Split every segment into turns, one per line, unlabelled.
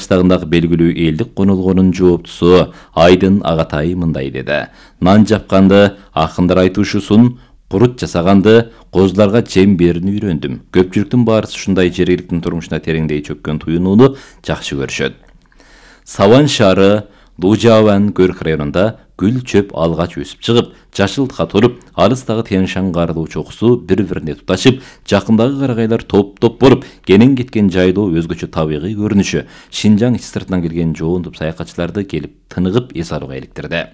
кыштагындагы белгилүү элдик конолгонун жооптусу Айдын Агатай мындай деди. Нан жапканды акындар айтышуусун, курут жасаганды, козуларга жем берүүнү үйрөндүм. Көпчүлүктүн баарысы ушундай жергиликтин турмушуна тереңдей чөккөн туюнууну жакшы көрүшөт. Саван шаары Лужаван Көрк районунда гүл чөп алгач өсүп чыгып, жашылтка туруп, алыстагы Тянь-Шань каарылуу чокусу бири-бирине туташып, жакындагы карагайлар топ-топ болуп, кенен кеткен жайлоо өзгөчө табигый көрүнүшү Шинжаң ич сыртынан келген жоонтуп саякатчыларды келип тыныгып эс алууга иликтирди.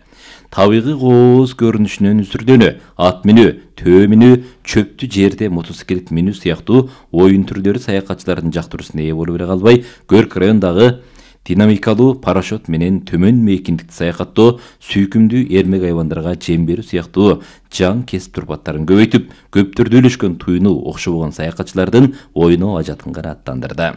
Табигый кооз көрүнүшүнөн үзүрдөнү, ат минүү, төө минүү, чөптү жерде мотоциклет минүү сыяктуу оюн түрлөрү саякатчылардын жактыруусуна ээ болуп эле калбай, Көрк районундагы динамикалуу парашют менен төмөн мейкиндикти саякаттоо, сүйкүмдүү эрмек айвандарга жем берүү сыяктуу жаң кесип турпаттарын көбөйтүп, көптөрдө үйлөшкөн туюну окшобогон саякатчылардын оюну ажатын канааттандырды.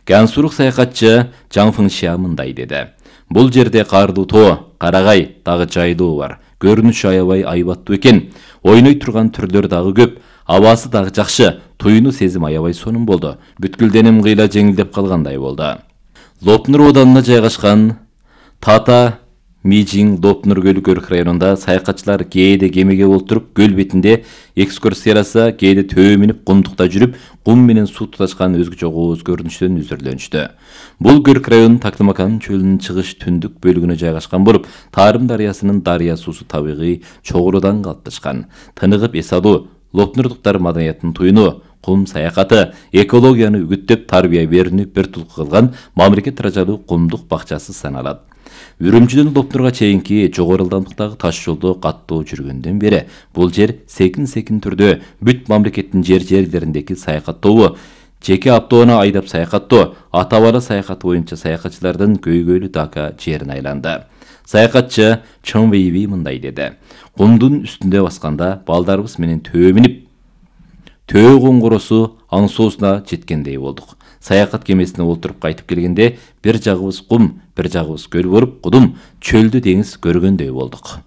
Гансурук саякатчы Жаң Фыңшия мындай деди. Бул жерде каардуу тоо, карагай, дагы жайлоо бар. Көрүнүшү аябай айбаттуу экен. Ойной турган түрлөр дагы көп. Абасы дагы жакшы. Туюну сезим аябай сонун болду. Бүткүлденим кыйла жеңилдеп калгандай болду. Лопнур ауданына жайгашкан Тата Мижиң Лопнур көлү Көрк районунда саякатчылар кээде кемеге олтуруп, көл бетинде экскурсияласа, кээде төө минип кумдукта жүрүп, кум менен суу туташкан өзгөчө кооз көрүнүштөн үзүрлөнүштү. Бул Көрк районунун Таклымакан чөлүнүн чыгыш түндүк бөлүгүнө жайгашкан болуп, Тарым дарыясынын дарыя суусу табигый чогулуудан калыпташкан. Тыныгып эс алуу, лопнурлуктар маданиятынын туюну, кум саякаты, экологияны үгүттөп тарбия берүүнү бир тулку кылган мамлекет тыражалуу кумдук бакчасы саналат. Үрүмчүдөн Лопнурга чейинки жогору ылдамдыктагы таш жолдо каттоо жүргөндөн бери бул жер секин түрдө бүт мамлекеттин жерлериндеги саякаттоо, жеке автоуна айдап саякаттоо, ата-бала саякаты боюнча саякатчылардын көйгөйлүү Дака жерине айланды. Саякатчы Чон Вейби мындай деди. Кумдун үстүндө басканда балдарыбыз менен төө минип, төө коңгуросу аңсоосуна жеткендей болдук. Саякат кемесине олтуруп кайтып келгенде бир жагыбыз кум, бир жагыбыз көл болуп, кудум, чөлдү деңиз көргөндөй болдук.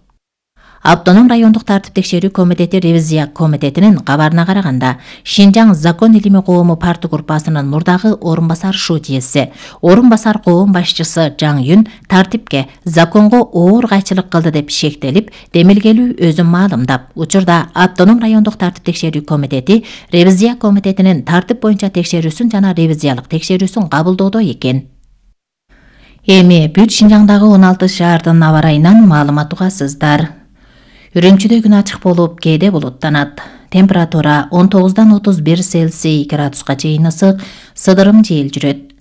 Автоном райондук тартип текшерүү комитети ревизия комитетинин кабарына караганда, Шинжаң закон илими коому парты группасынын мурдагы орун басар шуудиеси, орун басар коом башчысы Жаң Юн тартипке законго оор кайчылык кылды деп шектелип, демилгелүү өзүн маалымдап, учурда автоном райондук тартип текшерүү комитети ревизия комитетинин тартип боюнча текшерүүсүн жана ревизиялык текшерүүсүн кабылдоодо экен. Эми бүт Шинжаңдагы 16 шаардын аба ырайынан маалымат угасыздар. Үрүмчүдө күн ачык болуп, кээде булуттанат. Температура 19-дан 31 Цельсий градуска чейин ысык, сыдырым жел жүрөт.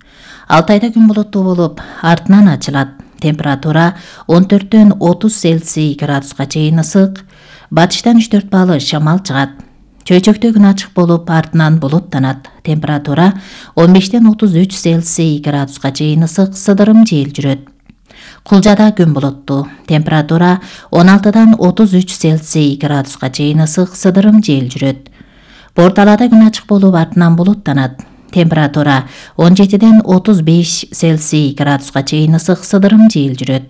Алтайда күн булуттуу болуп, артынан ачылат. Температура 14-төн 30 Цельсий градуска чейин ысык, батыштан 3-4 балы шамал чыгат. Чөйчөктө күн ачык болуп, артынан булуттанат. Температура 15-тен 33 Цельсий градуска чейин ысык, сыдырым жел жүрөт. Кулжада күн булуттуу. Температура 16-дан 33 Цельсий градуска чейин ысык, сыдырым жел жүрөт. Борталада күн ачык болуп, артынан булуттанат. Температура 17-ден 35 Цельсий градуска чейин ысык, сыдырым жел жүрөт.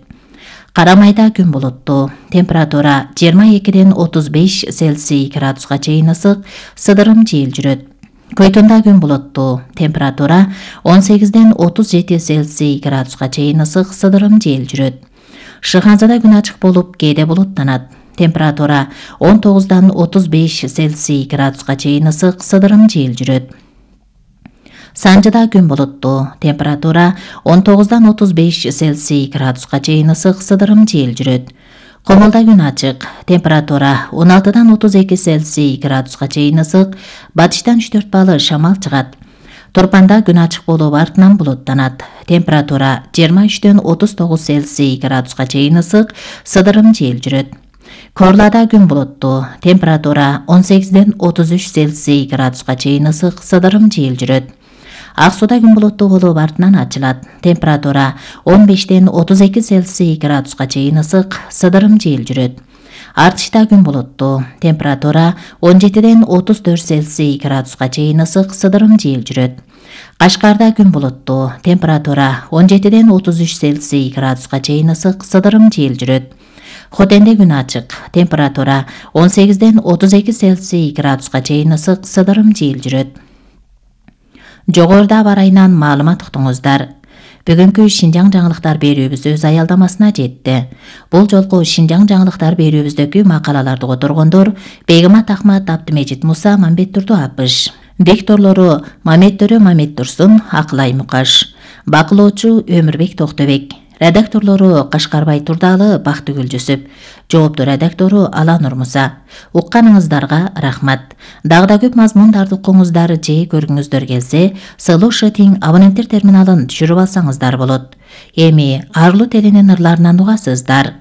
Карамайда күн булуттуу. Температура 22-ден 35 Цельсий градуска чейин ысык, сыдырым жел жүрөт. Көйтүндө күн булуттуу. Температура 18-ден 37 Цельсий градуска чейин ысык, сыдырым жел жүрөт. Шыханзада күн ачык болуп, кээде булуттанат. Температура 19-дан 35 Цельсий градуска чейин ысык, сыдырым жел жүрөт. Санжыда күн булуттуу. Температура 19-дан 35 Цельсий градуска чейин ысык, сыдырым жел жүрөт. Комолда күн ачык. Температура 16-дан 32 Цельсий градуска чейин ысык, батыштан 3-4 балы шамал чыгат. Турпанда күн ачык болуп, артынан булуттанат. Температура 23-төн 39 Цельсий градуска чейин ысык, сыдырым жел жүрөт. Корлада күн булуттуу. Температура 18-ден 33 Цельсий градуска чейин ысык, сыдырым жел жүрөт. Ак сууда күн булуттуу болуп, артынан ачылат. Температура 15-ден 32 Цельсий градуска чейин ысык, сыдырым жел жүрөт. Артышта күн булуттуу. Температура 17-ден 34 Цельсий градуска чейин ысык, сыдырым жел жүрөт. Кашкарда күн булуттуу. Температура 17-ден 33 Цельсий градуска чейин ысык, сыдырым жел жүрөт. Хотенде күн ачык. Температура 18-ден 32 Цельсий градуска чейин ысык, сыдырым жел жүрөт. Жогоруда аба ырайынан маалымат уктуңуздар. Бүгүнкү Шинжаң жаңылыктар берүүбүз өз аялдамасына жетти. Бул жолку Шинжаң жаңылыктар берүүбүздөгү макалаларды которгондор Бегимат Ахмат, Абдымежит Муса, Мамбет Турду Апыш. Дикторлору Маметтөрө Мамет Турсун, Акылай Мукаш. Бакылоочу Өмүрбек Токтобек. Редакторлору Кашкарбай Турдалы, Бактыгүл Жүсүп. Жоопту редактору Аланур Муса. Укканыңыздарга рахмат. Дагы да көп мазмундарды укуңуздар же көргүңүздөр келсе, СЛШ абоненттер терминалын түшүрүп алсаңыздар болот. Эми арлуу теленин ырларынан угасыздар.